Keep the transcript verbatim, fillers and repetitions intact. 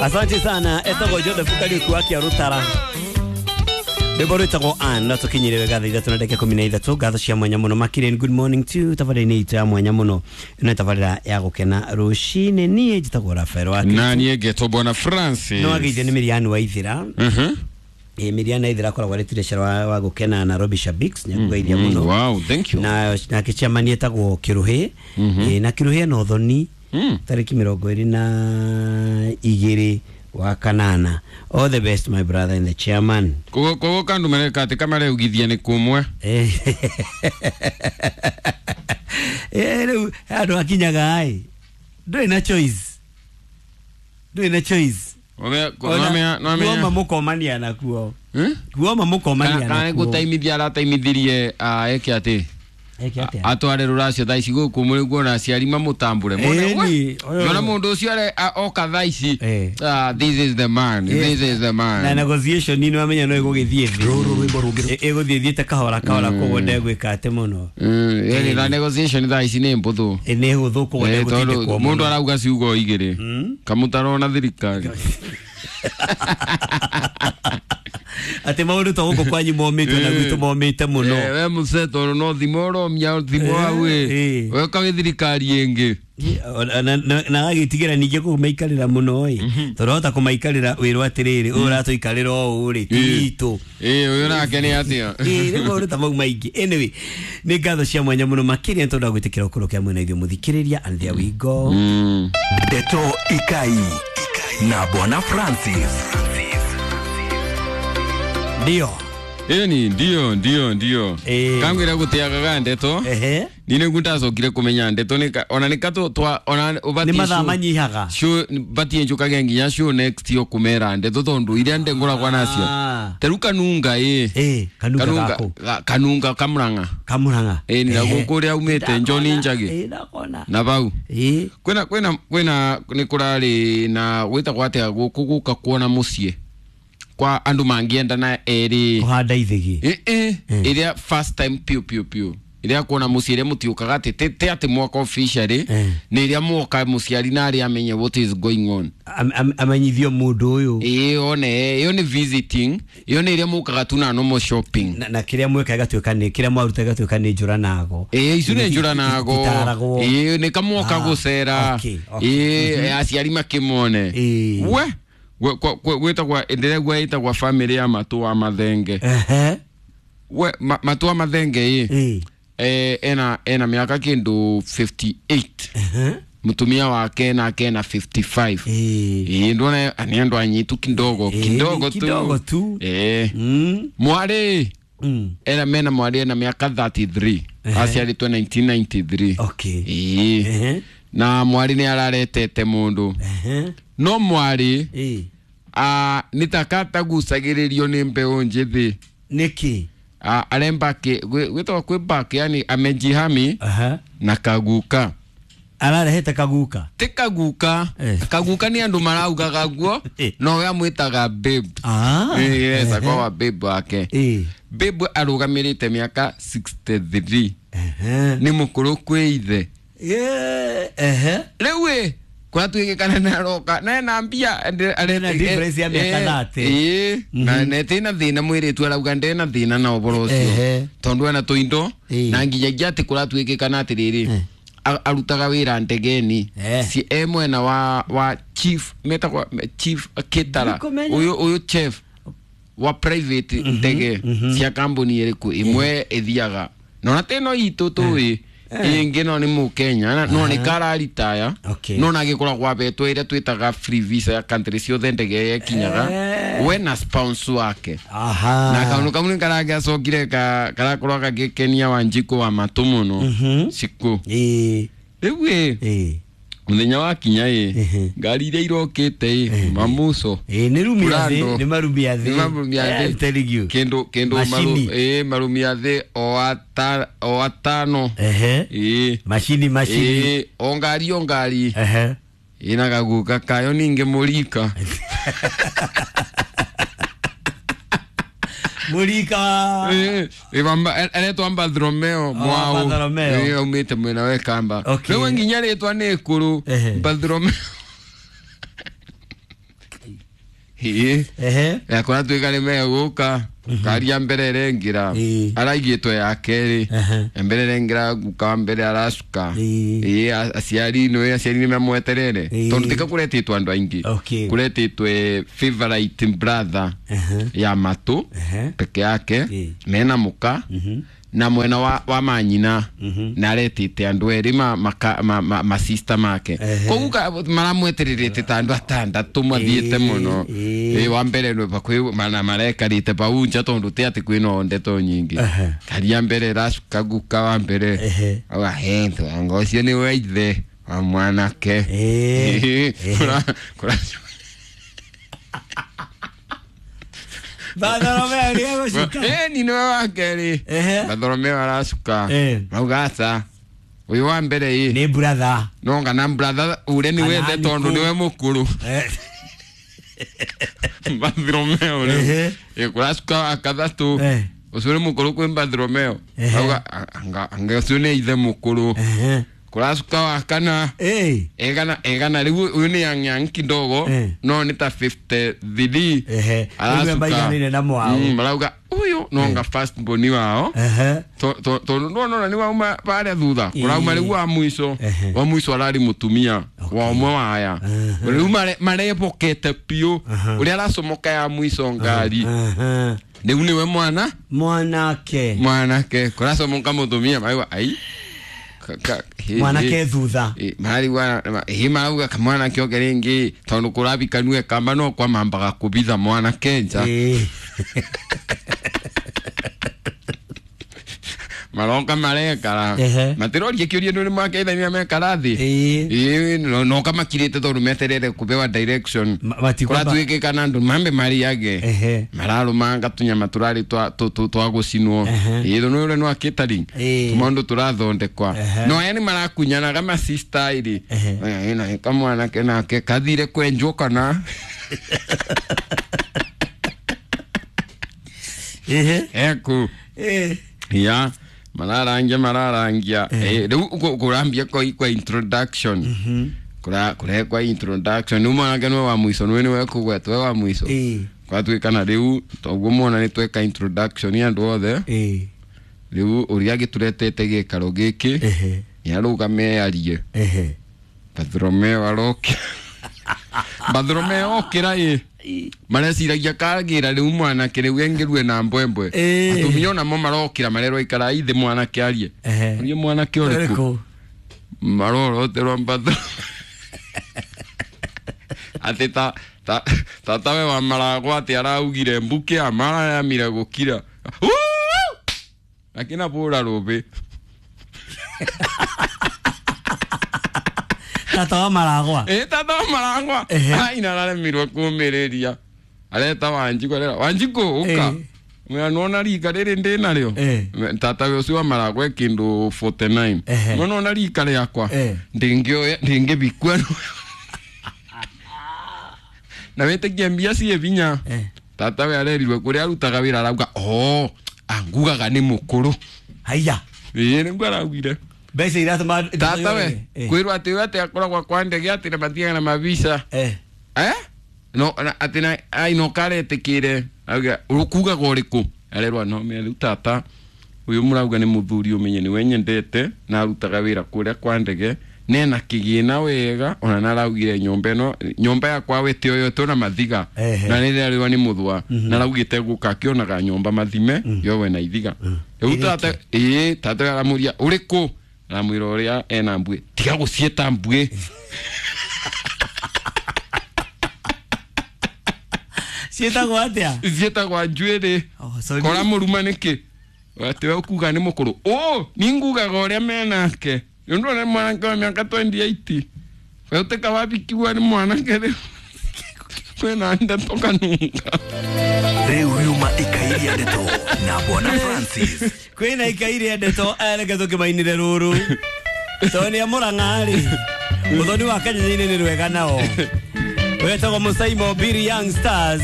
Asante sana etagwo Joseph Kariuki wa Kiarutara. Rwĩmbo rwĩtagwo Ann na tũkinyire wega thaa ithatũ na ndagĩka ikũmi na ithatũ. Ngatho cia mwanya mũno makĩria. Good morning to tabarĩra-inĩ itũ ya mwanya mũno, ĩno nĩ tabarĩra ya gũkena rũcinĩ. Niĩ njĩtagwo Rafael wa Na niĩ ngetwo Bwana Francis. No ageithio nĩ Miriam wa Ithira. Mhm. Ĩ Miriam wa Ithira akoragwo arĩ treasurer wa, wa gũkena Nairobi Shabiks, nĩakũgeithia Mm, mũno. Wow, thank you. Na nake chairman etagwo Kĩrũhĩ. Ĩ, na Kĩrũhĩ ena ũthoni Mm. tarĩki mĩrongo ĩrĩ na igĩrĩ wa kanana. All the best, my brother and the chairman. Koguo koguo kandu mereka atĩ kamareugithia nĩ kumwe. Eh, eh, rĩu handũ hakinyaga ĩ ndũrĩ na choice, ndũrĩ na choice. Nomenya kuoma nomenya. Mũkomania nakuo. Eh? Kuoma mũkomania Kana nakuo. gũtaimithia arataimithirie ah, eke atĩ Eke atĩa? Atware rũracio thaa ici gũkũ mũrĩ kuona aciari mamũtambũre mone Ĩni, we ũyũ- ona mũndũ ũcio are a- oka thaa ici. Eh. Ah, this is the man. Yes. This is the Na man. Negotiation nĩ wamenya no ĩgũgĩthiĩ thĩ. Rũrũ rwĩmbo rũngĩ. Ĩ- ĩgũthiĩ thiĩte kahora kahora, koguo ndegwĩka atĩ mũno. Mm, yani na negotiation thaa ici nĩ mbũthũ. Ĩ, nĩ hũthũ, koguo Eh, tondũ ndegũtindĩkwo mũndũ mũno. arauga ciugo igĩrĩ kamũtaro na thirikari. Atĩ maũndũ to gũkũ kwanyu momĩte na gwitũ momĩte mũno. Eh, we mũce tondũ no thimũ ũromia thimũ hau ĩ Eh. we ũkagĩ thirikari ĩngĩ. Na- na na agagĩtigĩra ningĩ kũmaikarĩra mũno ĩ, tondũ hota kũmaikarĩra wĩrwo atĩrĩrĩ, ũyũ ũratũikarĩra ũũ rĩ ti witũ. Ĩ, ũyũ nake nĩ atĩa? Ĩ, rĩu maũndũ ta mau maingĩ. Anyway, nĩ ngatho cia mwanya mũno makĩria nĩ tondũ wa gwĩtĩkĩra ũkorwo kĩa mwena ithuĩ mũthikĩrĩria, and there we go. Mm. Ndeto Ikai na Bwana Francis. Ndio. Ĩni ndio ndio ndio. Eh. Kangwĩra gũtiagaga ndeto. Ehe. Ni nĩguo ndacokire kũmenya ndeto nĩ ka- ona nĩ katũ twa ona Nĩ ũbatiĩ mathaa show- manyihaga. show batiĩ njũkage nginya show next yo kũmera ndeto tondũ iria ndengũragwa nacio. Ah. Ta rĩu kanunga ĩ. Ĩ, kanunga gakũ? ga- kanunga kamũrang'a. Kamũrang'a. Ĩ, nĩ gũkũ ũrĩa aumĩte John Njagi. Ĩ, ndakona. Na bau Ĩ. kwĩna kwĩna kwĩna nĩ kũrarĩ na gwĩtagwo atĩa gũkũ gũka kuona mũciĩ kwa andũ mangĩendana erĩ. Kũhanda ithĩgĩ. Ĩ ĩ ĩrĩa first time piũ piũ piũ ĩrĩa kuona mũciĩ ĩrĩa mũtiũkaga atĩ ti ti atĩ mwaka officially. Eh. Nĩ ĩrĩa mwoka mũciari na arĩa amenye what is going on. Am- am- amenyithio mũndũ ũyũ. Ĩ, one ĩyo nĩ visiting, ĩyo nĩ ĩrĩa mũkaga tu na normal shopping. na, na kĩrĩa mweka ĩgatuĩka nĩ kĩrĩa mwaruta ĩgatuĩka nĩ njũra nago. Ĩ, icio nĩ njũra nago. Ititaragwo. Ĩ, nĩ kamwoka Ah, gũcera. okay, okay. Ĩ, aciari makĩmone. Ĩ. We gwe- kwa- kwa- gwĩtagwa ndĩregua ĩtagwa family ya matũ wa mathenge. Ehe. We ma, matũ wa mathenge ĩ. Ĩ. Eh, ena ena mĩaka kĩndũ mĩrongo ĩtano na ĩnana. Ehe. Mũtumia wake nake ena mĩrongo ĩtano na ithano. Ĩ. Ĩ, ndona nĩ andũ anyitu kidogo. Ĩ, Kidogo tu. kidogo tu. Ĩ. Mm. Mwarĩ Mm. ena mena mwarĩ ena mĩaka mĩrongo ĩtatũ na ĩtatũ. Ehe. Aciarĩtwo mĩrongo kenda na ĩtano. Okay. Ĩ. Ehe. Na mwarĩ nĩ araretete mũndũ. Ehe. No mwarĩ Ĩ. ah, nĩ ta katagucagĩrĩrio nĩ mbeũ njĩthĩ. Nĩkĩ? Ah, arembaki gwĩtagwo kwĩ yani amejihami Aha. na kaguka. Ararehete kaguka? Ti kaguka. Eh. Kaguka nĩ andũ maraugaga guo. Eh. No we amwĩtaga babe. Ah. Eh, yes, Ehe. akoragwo babe wake. Ĩ. Babe arũgamĩrĩte mĩaka mĩrongo ĩnana na ithatũ. Ehe. Nĩ mũkũrũ kwĩ ithe. Yeah. Ehe. Rĩu ĩ kwatuĩkĩkana nĩ aroka na ena mbia. Ena difference ya mĩaka mĩrongo ĩtatũ. Ĩ, na netĩ thĩna mwĩrĩtu arauga ndena thĩna na ũboro ũcio Ehe. tondũ ena tũindo. Ĩ. Na nginyagia atĩ kũratuĩkĩkana atĩrĩrĩ, Eh. a- arutaga wĩra ndegeni. Eh. Si e mwena wa wa chief metagwa chief kitara. Ndikũmenya. Ũyũ ũyũ chef wa private ndege cia kambuni ĩrĩkũ ĩmwe ĩthiaga nona teno itũ tũĩ ĩngĩ no nĩ mũkenya na- no nĩ kararitaya. Okay. No nagĩkoragwo abetwo ĩrĩa twĩtaga free visa ya country ciothe ndege yekinyaga. Eh. We na spouse wake. Aha. Na kaundu kau nĩ karagĩacokire ka- karakorwo gagĩkenia Wanjikũ wa matũ mũno. Mhm. Cikũ Ĩ. rĩu ĩ Ĩ. mũthenya wa kinya ĩ Ehe. ngari iria irokĩte ĩ mamuco. Ĩ, nĩ rumia thĩ. Prado. Nĩ marumia thĩ. Nĩ marumia thĩ. I'm telling you. Kĩndũ kĩndũ maru, Macini. ĩ marumia thĩ o ata o atano. Ehe. Ĩ. Macini macini. Ĩ, o ngari o ngari. Ehe. Ĩna gaguka kayo ningĩ mũrika. Mũrika. Ĩ, ĩ, wamba- aretwo Bartholomeo Mwau. Bartholomeo. Ĩ, aumĩte mwena wa Kamba. Okay. Rĩu nginya rĩtwa nĩ ĩkũrũ. Ehe. Bartholomeo. Ĩĩ. Ehe. Yakora tuĩka nĩ megũka karia mbere ĩrengĩra Ĩĩ. araigĩtwo ya kerĩ Ehe. mbere ĩrengĩra guka wa mbere aracuka Ĩĩ. ĩĩ a- aciari nĩ aciari nĩ mamweterere Ĩĩ. tondũ tika kũretĩtwo andũ aingĩ Okay. kũretĩtwe favorite brother Ehe. ya matũ Ehe. peke yake Ĩĩ. mena mũka na mwena wa, wa manyina na aretĩte andũ erĩ ma, ma, ma, ma, ma sister make Ehe. koguo ka- maramwetererete ta andũ atandatũ mathiĩte Ĩĩ, mũno ĩĩ. Ĩĩ, wa mbere nĩ bakuhĩ mana marekarĩte bau nja tondũ ti atĩ kwĩna ndeto nyingĩ Ehe. karia mbere ĩracuka guka wa mbere Ehe. auga he anga ũcio nĩ wa ithe wa mwanake Ĩĩ. Ĩĩ, Ehe. kũra- kũra- Bartholomeo nĩ egũcuka. Ĩĩ, ni nĩwe wa kerĩ Ehe. Bartholomeo aracuka Eh. mauga aca ũyũ wa mbere ĩ Nĩ brother. no kana brother ũrĩa nĩ Kana wethe tondũ nĩkũ. nĩwe mũkũrũ Eh. Bartholomeo rĩu Ehe. Ĩ, kũracuka wa kathatũ Eh. ũcio nĩ mũkũrũ kwĩ Bartholomeo Ehe. auga anga anga ũcio nĩ ithe mũkũrũ Ehe. kũracuka wa kana Eh. egana egana rĩu ũyũ nĩ yang yang kidogo Eh. no nĩ ta fifty-three Ehe. Rĩu maiganĩire na mwao. Mm, marauga ũyũ nonga first born wao Ehe. tondũ nona nĩ wauma barĩa thutha Ĩĩ. kũrauma rĩu wa mũico Ehe. wa mũico ararĩ mũtumia wa ũmwe wa aya Ehe. rĩu mare- marebokete biũ ũrĩa aracomoka ya mũico ngari Ehe. rĩu nĩwe mwana Mwanake. mwanake kũracomoka mũtumia marauga ai ka- ka- hĩ- Mwanake hĩ. thutha. Ĩ, marigua hĩ marauga kamwanake oke rĩngĩ tondũ kũrabikanue kamba no kwamambaga kũbitha mwanake nja Ĩĩ. maroka marekara Ehe. matiroria kĩũria nĩ makeithania mekara thĩ Ĩĩ. Ĩĩ, no- noka makirĩte tondũ meterere kũbewa direction Ma- matikwamba- kũratuĩkĩkana andũ mambe mariage Ehe. mararũmanga tũnyama tũrarĩ twa- tũ- tũ- twa gũcinwo Ehe. ĩĩ tondũ ũrĩa nĩ wa catering Ĩĩ. tũmaũndũ tũrathondekwa Ehe. no aya nĩ marakunyanaga masistairi Ehe. kamwanake nake kathire kwenjwo kana Ehe. eku Eh. ya mararangia mararangia Eh, riu ku- kurambia kwa kwa introduction kura kurekwa introduction riu mwanake niwe wa mwico niwe niwe kugwetwo we wa mwico Ĩĩ. kwatuikana riu toguo mwana ni tweka introduction ya andu othe Ĩĩ. riu uria gituretete gikaro giki Ehe. niarugame arie Ehe. Bartholomeo arokira Bartholomeo okira ĩ mareciragia kagira riu mwanake riu engirue na mbwembwe Ĩ. atumia onamo marokira marerwo ikara ithe mwanake arie Ehe. arie mwanake ũrĩkũ Ũrĩkũ? maroroterwo Bartholomeo atĩ ta ta tatawe wa maragwa atĩ araugire mbuke amaramire gũkira akina bũra rũbĩ Tata wa maragwa. ä tata wa maragwa Ehe. aina araremirwo kũmĩrĩria areta wanjikũ arera wanjikũ ũka Eh. mwĩra nĩwona rika rĩrĩ ndĩ narĩo Eh. tata we ũcio wa maragwa e kĩndũ forty-nine Ehe. nĩwona rika rĩakwa Eh. ndĩngĩoya ndĩngĩbikua na wĩtĩkie mbia ciĩ binya Eh. tata we arerirwe kũrĩa arutaga wĩra arauga o angugaga nĩ mũkũrũ Haiya. ĩĩ nĩguo araugire Mbeca iratũma tata we Eh. kwĩrwo atĩ we atĩ akoragwo kwa ndege atĩ na mathiaga na mavisa Eh. eh no na atĩ na ai no karetikire auga ũkugaga ũrĩkũ arerwa no me rĩu tata ũyũ mũrauga nĩ mũthuri ũmenye nĩwe nyendete na arutaga wĩra kũrĩa kwa ndege nena kĩgĩna wega ona naraugire nyũmba ĩno nyũmba yakwa wete oyo na mathiga Ehe. na nĩrĩarĩwa nĩ mũthwa naraugĩte gũka akĩonaga nyũmba mathime yowe na ithiga rĩu tata ĩĩ tata we aramũria ũrĩkũ aramwĩra ũrĩa ena mbuĩ tiga gũciĩta mbuĩ Ciĩtagwo atĩa? ciĩtagwa njuĩrĩ Oh, sorry. kora mũruma nĩkĩ atĩ we ũkuga nĩ mũkũrũ ũ ningugaga ũrĩa menake nĩ ũndũ ũrĩa mwanake wa mĩaka twenty-eight we ũtĩka wabikiwa nĩ mwanake rĩu kwĩna ndeto kanunga Rĩu riuma ikairia ndeto na Bwana Francis. Kwĩna ikaire ndeto reke tũkĩmainĩre rũrũ tondũ nĩ a Mũrang'a rĩ ũthoni wa Kenya-inĩ nĩ rwega nao wetagwo Mũsaimo Biri Young Stars.